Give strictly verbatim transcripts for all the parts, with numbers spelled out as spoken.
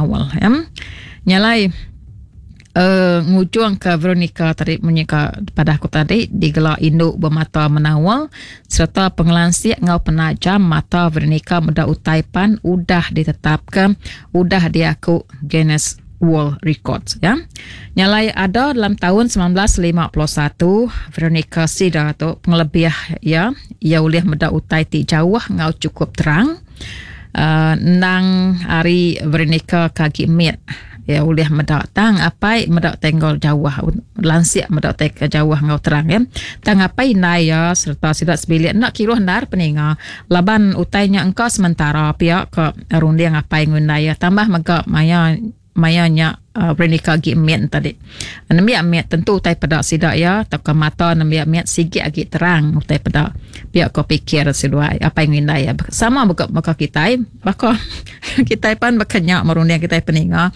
Menaul ya. Nyalai uh, ngujung ke Veronica tadi menyeka pada aku tadi digela induk bermata menaul serta pengelansik ngau penajam mata Veronica meda utai pan udah ditetapkan, udah diaku Guinness World Records ya. Nyalai ada dalam tahun seribu semilan ratus lima puluh satu Veronica Sida tu pengelebih ya, ia ulih meda utai ti jauh ngau cukup terang. Uh, nang hari Veronica kagi mit ya ulih meda tang apai meda tenggol jauh, lansik meda tek jauh ngau terang ya. Tang apai indai ya serta sida sebilik nak kiruh ndar peninga laban utainya engkau sementara pihak ke runding apai ngundai ya. Tambah mega maya maya nya uh, Veronica agi mit tadi. Nembiak mit tentu utai peda sida ya atau ke mata nembiak mit sigi agi terang utai peda. Pihak ko pikir seduai apai ngindai ya. Sama buka baka kitai, baka kitai pan bakanya merunding kitai peninga.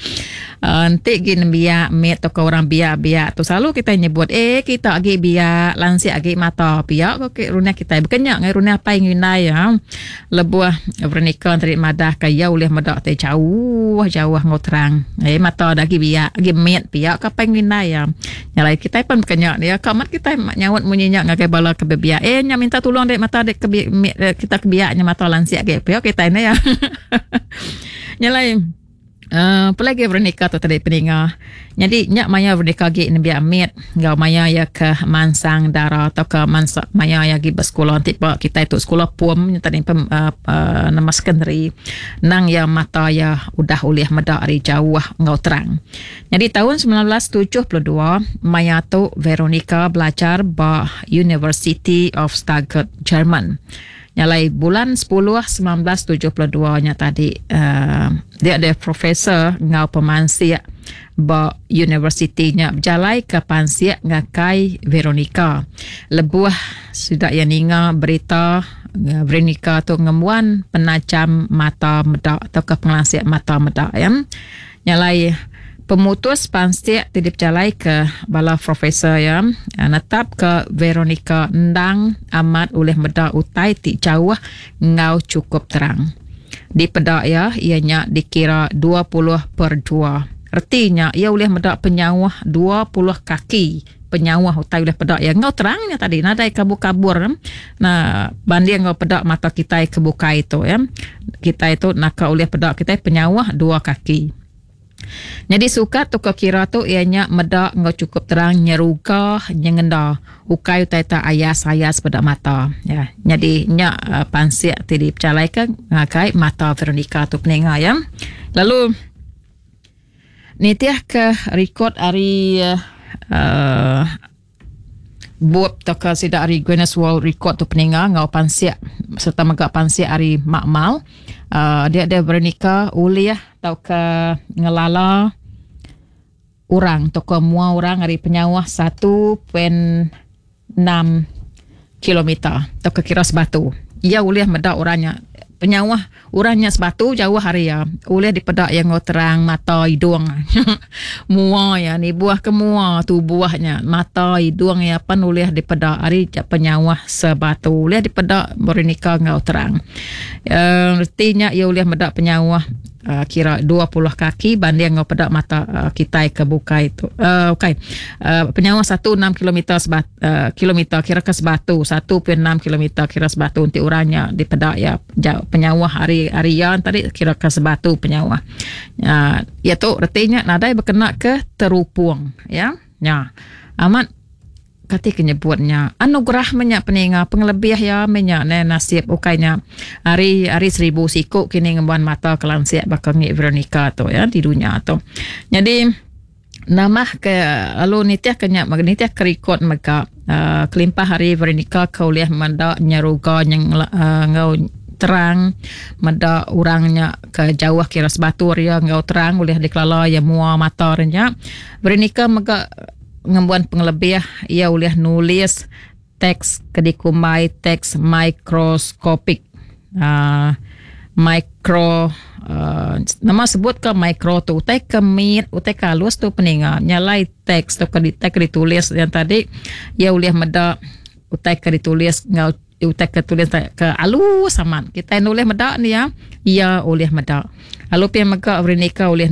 Uh, enti gi nembiak mit atau ke orang biak-biak tu selalu kita nyebut, "Eh, kita agi biak, lansik agi mata," pihak ko ke runding kitai. Bakanya ngai runding apai ngindai ya. Lebuh Veronica tadi madah ka ia ulih meda te jauh jauh ngau terang. Eh, mata dah agi biak, agi mit, pihak ka apai ngindai ya. Nyalai kitai pun bakanya dia. Kamat kitai nyaut munyinya ngagai bala ke biak. "Eh, nya minta tolong dek mata dek ke mit, kita ke biaknya mata lansik agi," pihak kitai ni ya. Nyalai Uh, apa lagi Veronica tu tadi peninga. Jadi nyak maya Veronica agi nembiak mit ngau maya ya ke mansang dara atau ke mansa maya ya agi bersekolah nanti pak kita itu sekolah pum tadi pem, uh, uh, nama secondary nang ya mata ya udah ulih meda ari jauh ngau terang. Jadi tahun seribu semilan ratus tujuh puluh dua maya tu Veronica belajar ba University of Stuttgart, Jerman. Nyalai bulan sepuluh seribu semilan ratus tujuh puluh dua nya tadi uh, dia ada profesor ngau pemansik ba universiti nya berjalai ke pansik ngakai Veronica. Lebuh sudah yang ninga berita uh, Veronica tu ngemuan penajam mata meda atau ke pengelansik mata meda ya. Nyalai pemutus pansik ti dipejalai ke bala profesor ya netap ke Veronica endang amat oleh meda utai ti jauh ngau cukup terang. Di peda ya ianya dikira dua puluh per dua. Artinya ia boleh meda penyauh dua puluh kaki penyauh utai boleh peda ya ngau terangnya tadi, nadai kabur-kabur. Nah, banding ngau peda mata kita ke bukai itu ya. Kita itu nak oleh peda kita penyauh dua kaki. Jadi sukat tu ke kira tu ianya meda ngau cukup terang nyeruga nyengenda ukai utai tak ayas-ayas pada mata ya. Jadi nya uh, pansik ti dipercalaikan ngagai mata Veronica tu peninga ya. Lalu nitiah ke rekod ari uh, bup tauka sida ari Guinness World Record tu peninga ngau pansik serta mega pansik ari makmal, uh, dia ada Veronica ulih tauka ngelala orang tauka mua orang ari penyauh satu perpuluhan enam kilometer tauka kira sebatu. Ia ulih meda orangnya penyauh orangnya sebatu jauh hari ya ulih dipedak yang terang mata, hidung, mua ya ni buah ke mua tubuhnya, mata, hidung ya pan ulih dipedak hari penyauh sebatu ulih dipedak Veronica ngau terang. Uh, artinya ia ulih medak penyauh uh, kira dua puluh kaki banding ngau pedak mata uh, kita ke bukai itu. Uh, okay. Uh, penyauh satu enam kilometer sebat, uh, kilometer kira ke sebatu, satu perpuluhan enam kilometer kira sebatu untuk orangnya dipedak ya jauh, penyauh hari hari yang tadi kira ke sebatu penyauh. Uh, ya tu artinya nadai berkena ke terupung ya. Ya. Amat kati kenyebutnya anugerah menyak peninga, pengelebih ya menyak ne nasib ukainya hari hari seribu siku kini ngembuan mata kelansik bakal ngi Veronica tu ya di dunia tu. Jadi nama ke lalu nitiah ke nyak nitiah ke rekod mega uh, kelimpah hari Veronica ke ulih menda nyeruga nyeng uh, ngau terang meda orangnya ke jauh kira sebatu ria ngau terang ulih dikelala ya mua mata nya, Veronica mega ngembuan pengelebih ia ulih nulis teks ke dikumbai teks mikroskopik. Uh, micro uh, nama sebut ke micro tu utai ke mit, utai ke halus tu peninga. Nyalai teks tu ke ke ditulis yang tadi ia ulih meda utai ke ditulis ngau utai ke tulis ke alus amat kita nulis meda ni ya, ia ulih meda. Lalu pia mega Veronica ulih